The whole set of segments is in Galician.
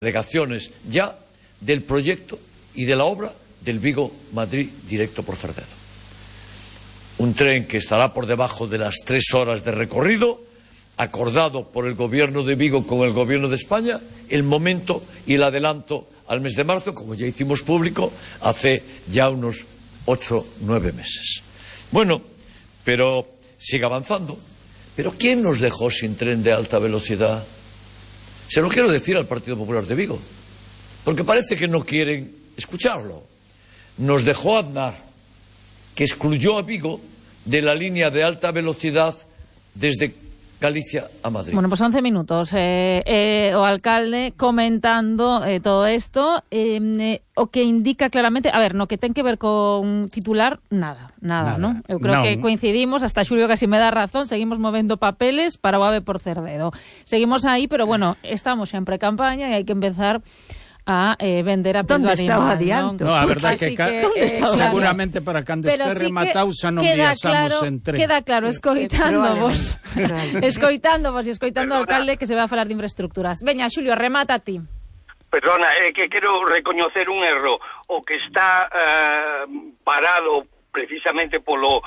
delegaciones ya del proyecto y de la obra del Vigo-Madrid directo por Cerdedo. Un tren que estará por debajo de las 3 horas de recorrido, acordado por el gobierno de Vigo con el gobierno de España, el momento y el adelanto al mes de marzo, como ya hicimos público hace ya unos 8 o 9 meses. Bueno, pero sigue avanzando. ¿Pero quién nos dejó sin tren de alta velocidad? Se lo quiero decir al Partido Popular de Vigo, porque parece que no quieren escucharlo. Nos dejó Aznar, que excluyó a Vigo de la línea de alta velocidad desde Galicia a Madrid. Bueno, pues 11 minutos. O alcalde comentando todo esto, o que indica claramente, a ver, no que ten que ver con titular, nada, ¿no? Eu creo que coincidimos, hasta Xulio casi me dá razón, seguimos movendo papeles para o AVE por Cerdedo. Seguimos aí, pero bueno, estamos xa en pre-campaña e hai que empezar a vender a pelo animal. ¿Dónde está o adianto? No, a verdade que seguramente para cando este rematado xa non viaxamos en tren. Queda claro, escoitándovos e escoitando ao alcalde que se va a falar de infraestructuras. Veña, Xulio, remata a ti. Perdona, é que quero recoñecer un erro. O que está parado precisamente polo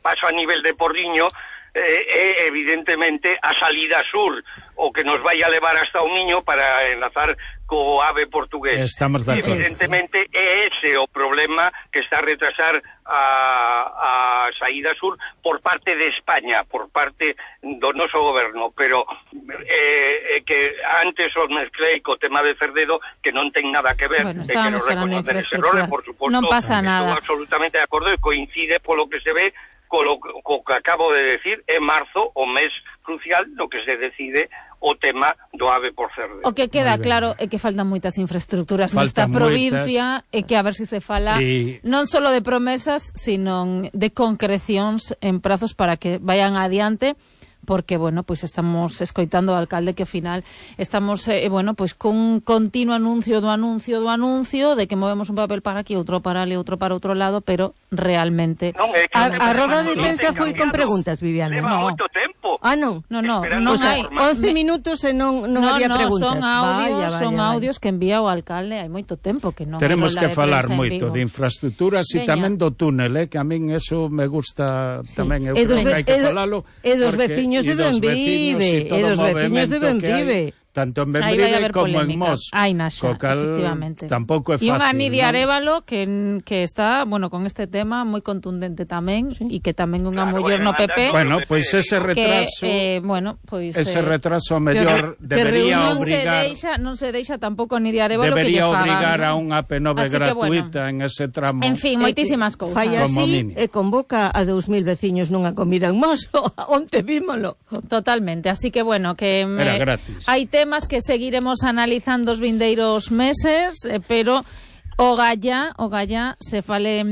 paso a nivel de Porriño é evidentemente a salida sur, o que nos vai a levar hasta o Miño para enlazar co AVE portugués. Estamos de acordo. Evidentemente é ese o problema que está a retrasar a saída sur por parte de España, por parte do noso goberno, pero que antes os mezclei co tema de Cerdedo, que non ten nada que ver, bueno, e quero reconocer ese error, por suposto, non pasa nada. Estou absolutamente de acordo e coincide polo que se ve co que acabo de decir. É marzo o mes crucial no que se decide o tema do AVE por Cerdedo. O que queda claro é que faltan moitas infraestructuras nesta provincia e que a ver se se fala non só de promesas, sino de concrecións en prazos para que vayan adiante, porque, bueno, pois estamos escoitando ao alcalde que ao final estamos, bueno, pois cun continuo anuncio do anuncio de que movemos un papel para aquí, outro para ali, outro para outro lado, pero realmente... A roda de prensa foi con preguntas, Viviana. Leva moito tempo. Non. Non hai 11 minutos e non había preguntas. Son audios que envía o alcalde hai moito tempo que non. Tenemos que falar moito de infraestructuras e tamén do túnel, que a min eso me gusta tamén, eu creo que hai que falalo. E dos veciños de Benvive. Tanto en Benvive como en Mos. Hai naxa, efectivamente. Tampouco é fácil. E unha Nidia Arévalo que está, bueno, con este tema moi contundente tamén, e que tamén unha muller no PP. Bueno, pois ese retraso, ese retraso mellor debería obrigar. Non se deixa tampouco Nidia Arévalo que lle fagan. Debería obrigar a unha AP9 gratuita en ese tramo. En fin, moitísimas cousas. Fai así e convoca a 2000 veciños nunha comida en Mos, onte vímolo. Totalmente, así que bueno, que era gratis. Hai temas que seguiremos analizando os vindeiros meses, pero o galla se fale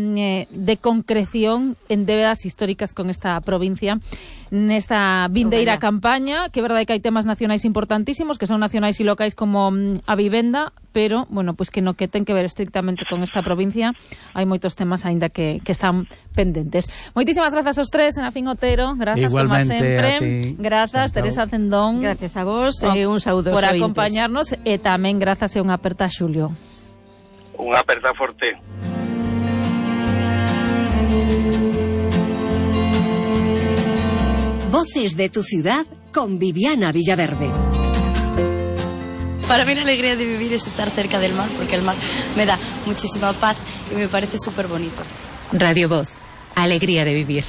de concreción en débedas históricas con esta provincia nesta vindeira campaña, que é verdade que hai temas nacionais importantísimos, que son nacionais e locais como a vivenda, pero, bueno, pois que no que ten que ver estrictamente con esta provincia hai moitos temas aínda que están pendentes. Moitísimas grazas aos tres, Senafín Otero, grazas como sempre, grazas Teresa Cendón, grazas a vos e un saúdo por acompañarnos, e tamén grazas e unha aperta a Xulio. Unha aperta forte. Voces de tu ciudad con Viviana Villaverde. Para mí la alegría de vivir es estar cerca del mar, porque el mar me da muchísima paz y me parece súper bonito. Radio Voz, alegría de vivir.